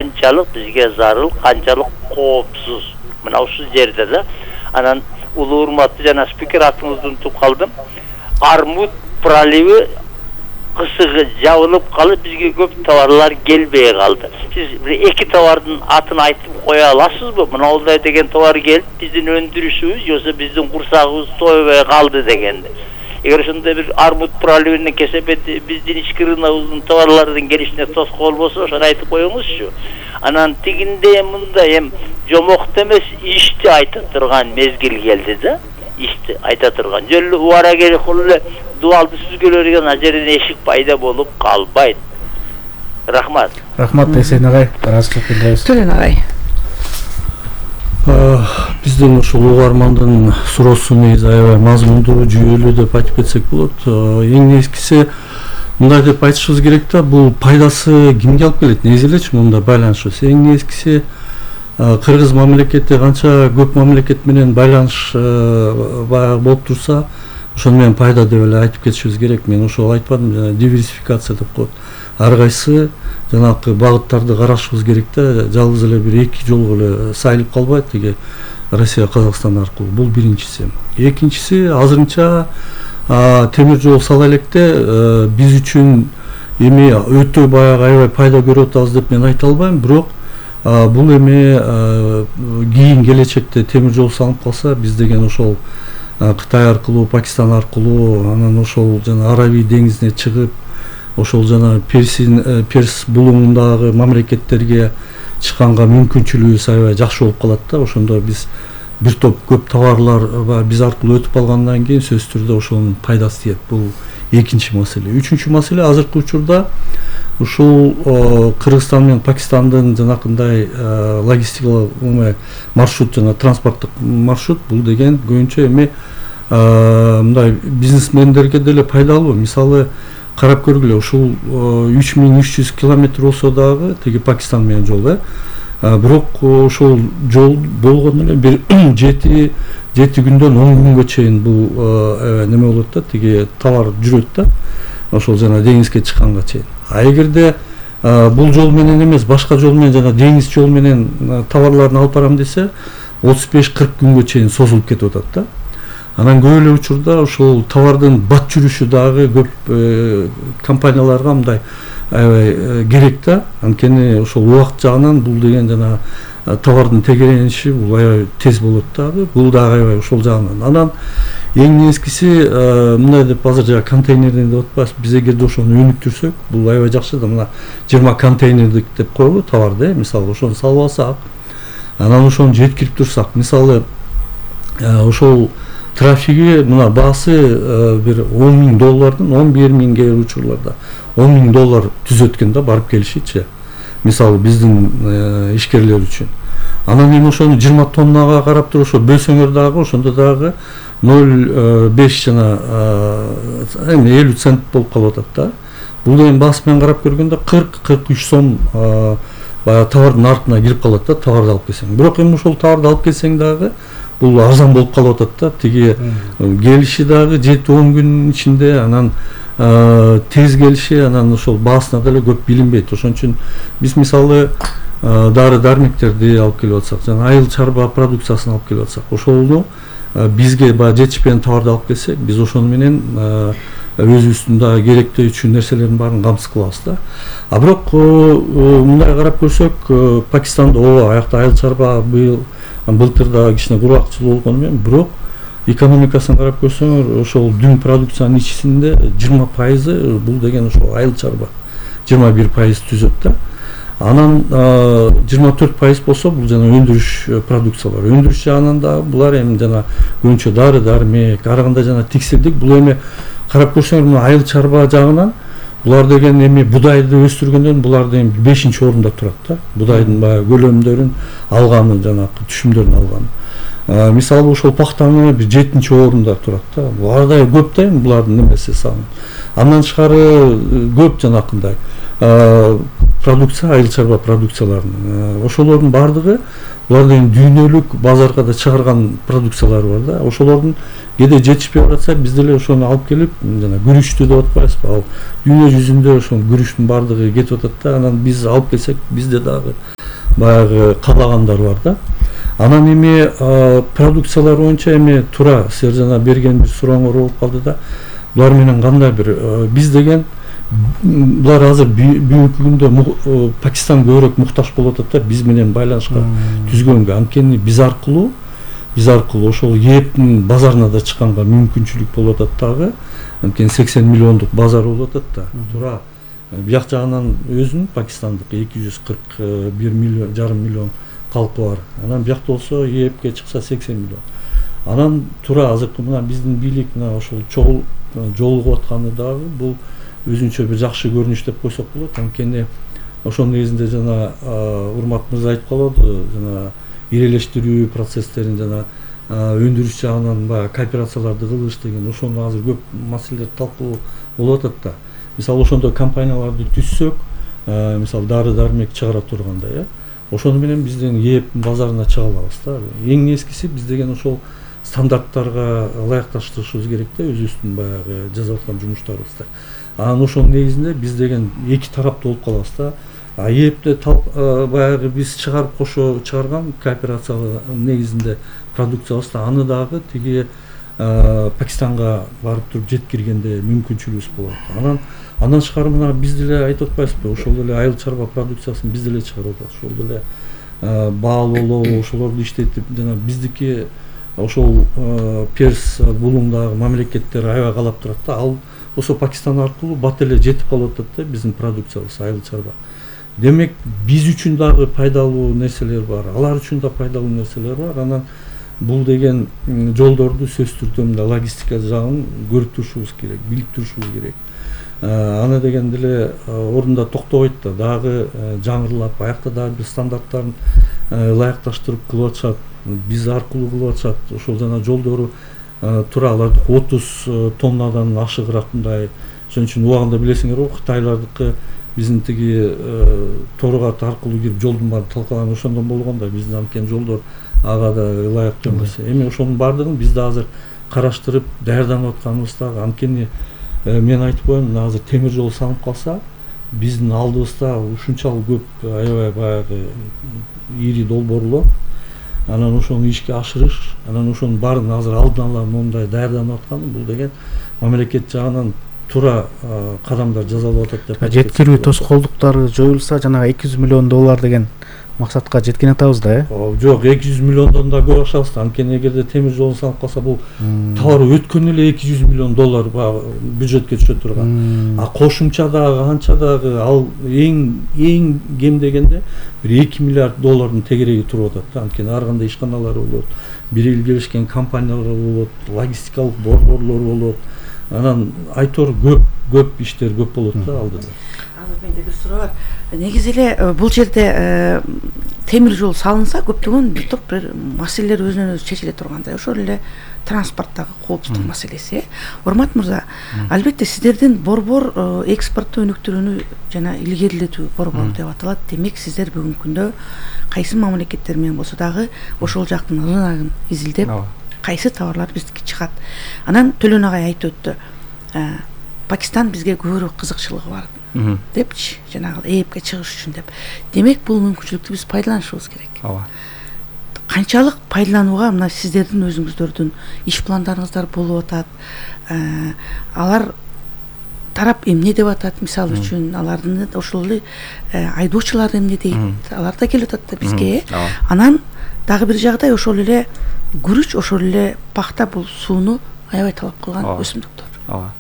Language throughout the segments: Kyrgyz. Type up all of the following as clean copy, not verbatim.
канчалык бизге зарыл, канчалык коопсуз. Мына ушул жерде да анан улуу урматтуу жана спикер атыңызды унутуп калдым. Армут проливи кысыгы жабылып калып, бизге көп товарлар келбей калды. Сиз бир эки товардын атын айтып коя аласызбы? Мына олдай деген товар келип, биздин өндүрүшүбүз, жоксо биздин курсагыбыз тойбой калды дегенди. Эгер ошондой бир армут проливинин кесепети биздин ички рыногубуздун товарлардын келишине тоскоол болсо, ошону айтып коюңузчу. Анан тигинде мындай жомокто эмес ишти айта турган мезгил келди да. Ишти айта турган. Жөн эле убара келип эле дуалды сүзгөлөр деген ана жерден эшик пайда болуп калбайт. Рахмат. Рахмат Эсен агай. Төлөн агай. Биздин ушул угармандын суроосу негизи аябай мазмундуу, жүйөлүү деп айтып кетсек болот. Эң нечкиси мындай деп айтышыбыз керек да, бул пайдасы кимге алып келет? Негизи элечи мында байланышыбыз. Эң нечкиси Кыргыз мамлекети канча көп мамлекет менен байланыш болуп турса, ошону менен пайда деп эле айтып кетишибиз керек. Мен ошол айтпадым, жана диверсификация деп коет. Ар кайсы жанагы багыттарды карашыбыз керек да, жалгыз эле бир эки жолго эле сайылып калбайт тиги Россия Казакстан аркылуу. Бул биринчиси. Экинчиси, азырынча темир жол сала электе биз үчүн эми өтө баягы аябай пайда көрүп атабыз деп мен айта албайм, бирок бул эми кийин келечекте темир жол салынып калса, биз деген ошол Кытай аркылуу, Пакистан аркылуу, анан ошол жана Аравий деңизине чыгып, ошол жана Перс булуңундагы мамлекеттерге чыкканга мүмкүнчүлүгүбүз аябай жакшы болуп калат да. Ошондо биз бир топ көп товарлар биз аркылуу өтүп калгандан кийин сөзсүз түрдө ошонун пайдасы тиет. Бул экинчи маселе. Үчүнчү маселе, азыркы учурда ушул Кыргызстан менен Пакистандын жанакындай логистикалык маршрут жана транспорттук маршрут, бул деген көбүнчө эми мындай бизнесмендерге деле пайдалуу. Мисалы карап көргүлө, ушул 3300 километр болсо дагы тиги Пакистан менен жол, бирок ошол жол болгону эле бир 7 күндөн 10 күнгө чейин бул неме болот да, тиги товар жүрөт да, ошол жана деңизге чыкканга чейин. А эгерде бул жол менен эмес, башка жол менен жана деңиз жол менен товарларын алып барам десе, 35-40 күнгө чейин созулуп кетип атат да. Анан көп эле учурда ошол товардын бат жүрүшү дагы көп компанияларга мындай аябай керек да. Анткени ошол убакыт жагынан бул деген жана товардын тегерениши бул аябай тез болот дагы. Бул дагы аябай ошол жагынан. Анан эң нескиси мындай деп азыр жана контейнерден деп атпайбыз. Биз эгерде ошону өнүктүрсөк, бул аябай жакшы да. Мына 20 контейнердик деп коелу товарды, мисалы ошону салып алсак, анан ошону жеткирип турсак, мисалы ошол трафиги мына баасы бир $10,000, $11,000 кээ учурларда $10,000 түзөт экен да, барып келишичи. Мисалы биздин ишкерлер үчүн. Анан эми ошону 20 тоннага карап туруп ошо бөлсөңөр дагы, ошондо дагы 0,5 жана эми 50 цент болуп калып атат да. Бул деген баасы менен карап көргөндө 40-43 сом баягы товардын артына кирип калат да, товарды алып келсең. Бирок эми ошол товарды алып келсең дагы бул арзан болуп калып атат да. Тиги келиши дагы 7-10 күн ичинде, анан тез келиши, анан ошол баасына деле көп билинбейт. Ошон үчүн биз мисалы дары дармектерди алып келип атсак, жана айыл чарба продукциясын алып келип атсак, ошону бизге баягы жетишпеген товарды алып келсек, биз ошону менен өзүбүздүн дагы керектүү үчүн нерселердин баарын камсыз кылабыз да. А бирок мындай карап көрсөк, Пакистанда ооба аякта айыл чарба былтыр да кичине кургакчылык болгону менен, бирок экономикасын карап көрсөңөр, ошол дүң продукциянын ичинде 20% бул деген ошол айыл чарба, 21% түзөт да. Анан 24% болсо бул жана өндүрүш продукциялар. Өндүрүш жагынан да булар эми жана көбүнчө дары дармек, ар кандай жана текстилдик, бул эми карап көрсөңөр мына айыл чарба жагынан булар деген эми будайды өстүргөндөн булар деген 5-орунда турат да. Будайдын баягы көлөмдөрүн алганы, жана түшүмдөрүн алганы. Мисалы ошол пахтаны бир 7-орунда турат да. Бул ардай көп да эми булардын немеси саны. Андан тышкары көп жанакындай продукция, айыл чарба продукцияларын. Ошолордун бардыгы булардын дүйнөлүк базарга да чыгарган продукциялары бар да. Ошолордун кээде жетишпей баратса, биз деле ошону алып келип, жана күрүчтү деп атпайбызбы? Ал дүйнө жүзүндө ошол күрүчтүн бардыгы кетип атат да. Анан биз алып келсек, бизде дагы баягы каалагандар бар да. Анан эми продукциялар боюнча эми туура силер жана берген бир сурооңор болуп калды да. Булар менен кандай бир биз деген булар азыр бүгүнкү күндө Пакистан көбүрөөк муктаж болуп атат да, биз менен байланышка түзгөнгө. Анткени биз аркылуу ошол ЕЭПтин базарына да чыкканга мүмкүнчүлүк болуп атат дагы. Анткени 80 миллиондук базар болуп атат да. Туура бияк жагынан өзүнүн Пакистандык 241 жарым миллион калкы бар. Анан биякта болсо ЕЭПке чыкса 80 миллион. Анан туура азыркы мына биздин бийлик мына ошол жолугуп атканы дагы бул өзүнчө бир жакшы көрүнүш деп койсок болот. Анткени ошонун негизинде жана Урмат мырза айтып калды, жана ирелештирүү процесстерин жана өндүрүш жагынан баягы кооперацияларды кылыш деген ошондо азыр көп маселелер талкуу болуп атат да. Мисалы ошондой компанияларды түзсөк, мисалы дары-дармек чыгара тургандай, ошону менен биздин ЕЭПтин базарына чыга алабыз да. Эң нескиси биз деген ошол стандарттарга ылайыкташтырышыбыз керек да, өзүбүздүн баягы жасап аткан жумуштарыбызды. Анан ошонун негизинде биз деген эки тараптуу болуп калабыз да. ЕЭПте баягы биз чыгарып кошо чыгарган кооперациялык негизинде продукциябызды аны дагы тиги Пакистанга барып туруп жеткиргенде мүмкүнчүлүгүбүз болот. Андан тышкары мына биз деле айтып атпайбызбы, ошол эле айыл чарба продукциясын биз деле чыгарып атабыз. Ошол деле баал болобу, ошолорду иштетип жана биздики ошол Перс булуңдагы мамлекеттер аябай каалап турат да. Ал ошо Пакистан аркылуу бат эле жетип калып атат да биздин продукциябыз айыл чарба. Демек биз үчүн дагы пайдалуу нерселер бар, алар үчүн да пайдалуу нерселер бар. Анан бул деген жолдорду сөзсүз түрдө логистика жагын көрүп турушубуз керек, билип турушубуз керек. Аны деген деле ордунда токтобойт да, дагы жаңырылап, аякта дагы бир стандарттарын ылайыкташтырып кылып атышат, биз аркылуу кылып атышат. Ошол жана жолдору туура алардыкы 30 тоннадан ашыгыраак мындай. Ошон үчүн убагында билесиңер го, Кытайлардыкы биздин тиги торгат аркылуу кирип жолдун баарын талкалаган ошондон болгон да, биздин анткени жолдор ага да ылайыктуу эмес. Эми ошонун баардыгын биз да азыр караштырып даярданып атканыбыз дагы. Анткени мен айтып коеюн, азыр темир жол салынып калса, биздин алдыбызда ушунчалык көп аябай баягы ири долбоорлор, анан ошону ишке ашырыш, анан ошонун баарын азыр алдын ала мондай даярданып атканы бул деген мамлекет жагынан туура кадамдар жасалып атат деп. Жеткирүү тоскоолдуктары жоюлса, жанагы 200 миллион доллар деген максатка жеткен атабыз да, Жок, 200 миллиондон да көп акчабыз да. Анткени эгерде темир жол салынып калса, бул товар өткөн эле 200 миллион доллар бюджетке түшө турган. Кошумча дагы канча дагы ал эң кем дегенде бир 2 миллиард доллардын тегереги туруп атат да. Анткени ар кандай ишканалары болот, бир келишкен компаниялар болот, логистикалык борборлор болот. Анан айтор көп иштер көп болот да алдыда. Азыр менде бир суроо бар. Негизи эле бул жерде темир жол салынса, көптөгөн бир топ бир маселелер өзүнөн өзү чечиле тургандай. Ошол эле транспорттагы коопсуздук маселеси. Урмат мырза, албетте сиздердин борбор экспорттоо өнүктүрүүнү жана илгерилетүү борбору деп аталат. Демек сиздер бүгүнкү күндө кайсы мамлекеттер менен болсо дагы ошол жактын рыногун изилдеп, кайсы товарлар биздики чыгат. Анан Төлөн агай айтып өттү. Пакистан бизге көбүрөөк кызыкчылыгы бар депчи, жанагы ЭЭПке чыгыш үчүн деп. Демек бул мүмкүнчүлүктү биз пайдаланышыбыз керек. Канчалык пайдаланууга мына сиздердин өзүңүздөрдүн иш пландарыңыздар болуп атат? Алар тарап эмне деп атат? Мисалы үчүн алардын ошол эле айдоочулар эмне дейт? Алар да келип атат да бизге. Анан дагы бир жагдай ошол эле күрүч, ошол эле пахта бул сууну аябай талап кылган өсүмдүктөр.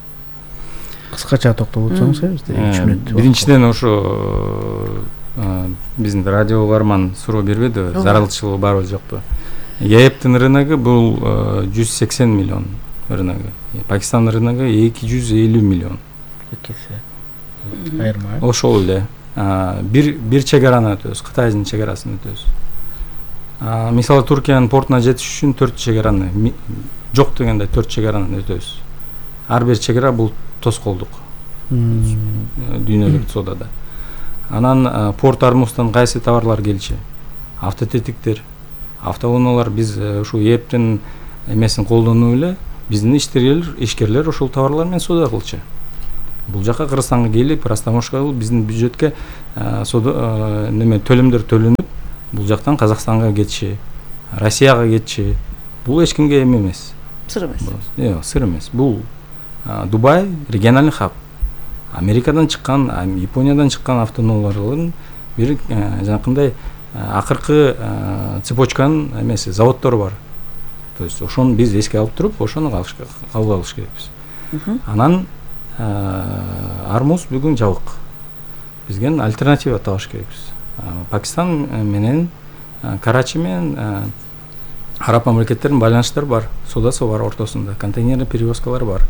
Кыскача токтолуп өтсөңүз, бизде 3 мүнөт. Биринчиден ошо биздин радио угарман суроо бербеди, зарылчылыгы барбы жокпу? ЕЭПтин рыногу бул 180 миллион рыногу. Пакистандын рыногу 250 миллион. Айырма. Ошол эле. Бир чегараны өтөбүз, Кытайдын чегарасын өтөбүз. Мисалы Туркиянын портуна жетиш үчүн 4 чегараны, жок дегенде 4 чегараны өтөбүз. Ар бир чегара бул тоскоолдук. Дүйнөлүк содада. Анан порт Армуздан кайсы товарлар келчү? Автотетиктер, автоунаалар. Биз ушул ээптин эмесин колдонуп эле биздин ишкерлер ошол товарлар менен соода кылчу. Бул жака Кыргызстанга келип, растамашка кылып, биздин бюджетке төлөмдөр төлөнүп, бул жактан Казакстанга кетчи, Россияга кетчи. Бул эч кимге эмес. Сыр эмес. Жок, сыр эмес. Бул Дубай региональный хаб. Америкадан чыккан, Япониядан чыккан автоунаалардын бир жанакындай акыркы цепочканын эмеси, заводдору бар. То есть ошону биз эске алып туруп, ошону кабыл алыш керекпиз. Анан Армуз бүгүн жабык. Бизге альтернатива табыш керекпиз. Пакистан менен Карачи менен араб мамлекеттеринин байланыштары бар, соодасы бар ортосунда, контейнерный перевозкалар бар.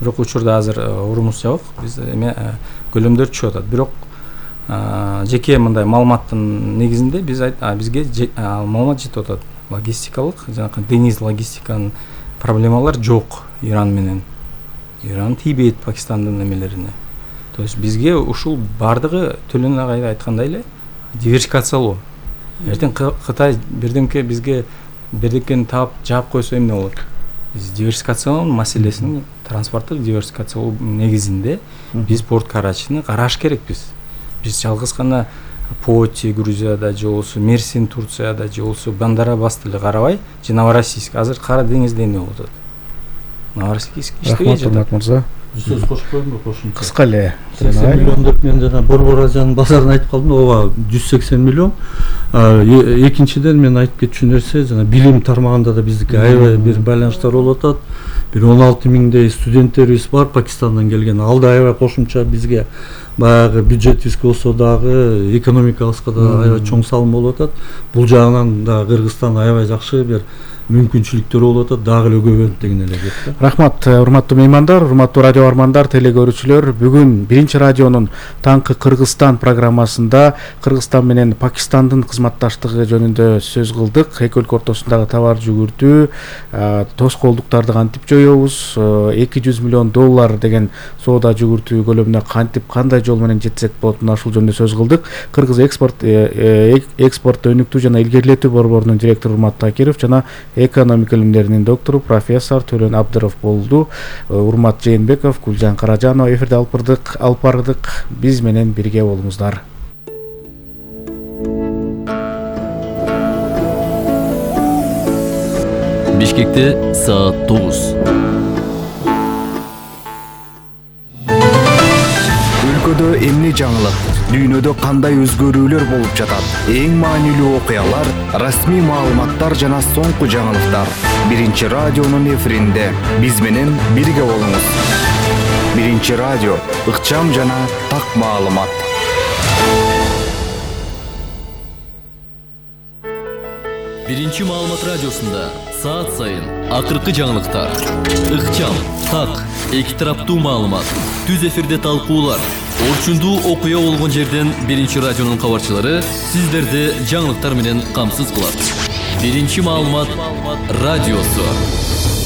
Бирок учурда азыр орунубуз жабык, биз көлөмдөр түшүп атат. Бирок жеке мындай маалыматтын негизинде бизге маалымат жетип атат. Логистикалык, жанакы дениз логистиканын проблемалар жок Иран менен. Иран тийбейт Пакистандын эмелерине. То есть бизге ушул бардыгы Төлөн агай айткандай эле диверсификациялоо. Эртең Кытай бирдемке бизге бирдекени таап жаап койсо эмне болот? Биз диверсификациялоо маселесин, транспорттук диверсификациялоо негизинде биз порт Карачини караш керекпиз. Биз жалгыз гана Поти Грузияда же болсо Мерсин Турцияда же болсо Бандар-Аббасты эле карабай, же Новороссийск азыр Кара деңизде эмне болуп атат? Новороссийск иштебей жатат. Рахмат Мырза. Сөз кошуп коеюнбу? Кошумча. Кыска эле. 80 миллион деп мен жана Борбор Азиянын базарын айтып калдым. Ооба 180 миллион. Экинчиден мен айтып кетчү нерсе, жана билим тармагында да биздики аябай бир байланыштар болуп атат. Бир 16 миңдей студенттерибиз бар Пакистандан келген. Ал да аябай кошумча бизге баягы бюджетибизге болсо дагы экономикабызга да аябай чоң салым болуп атат. Бул жагынан да Кыргызстан аябай жакшы бир мүмкүнчүлүктөр болуп атат, дагы эле көбөйөт деген эле кеп. Рахмат, урматтуу меймандар, урматтуу радио армандар, телегөрүүчүлөр. Бүгүн биринчи радионун Таңкы Кыргызстан программасында Кыргызстан менен Пакистандын кызматташтыгы жөнүндө сөз кылдык. Эки өлкө ортосундагы товар жүгүртүү, тоскоолдуктарды кантип жоебуз, $200 миллион деген соода жүгүртүү көлөмүнө кантип, кандай жол менен жетсек болот, мына ушул жөнүндө сөз кылдык. Кыргыз экспорт өнүктүү жана илгерилетүү борборунун директору Урмат Такиров жана экономика илимдеринин доктору профессор Төлөн Абдыров болду. Урмат Жээнбеков, Гүлжан Каражанова эфирде алып бардык. Биз менен бирге болуңуздар. Бишкекте саат 9. Өлкөдө эмне жаңылык, дүйнөдө кандай өзгөрүүлөр болуп жатат? Эң маанилүү окуялар, расмий маалыматтар жана соңку жаңылыктар. Биринчи радионун эфиринде биз менен бирге болуңуз. Биринчи радио, ыкчам жана так маалымат. Биринчи маалымат радиосунда саат сайын акыркы жаңылыктар, ыкчам, так, эки тараптуу маалымат, түз эфирде талкуулар, орчундуу окуя болгон жерден биринчи радионун кабарчылары сиздерди жаңылыктар менен камсыз кылат. Биринчи маалымат радиосу.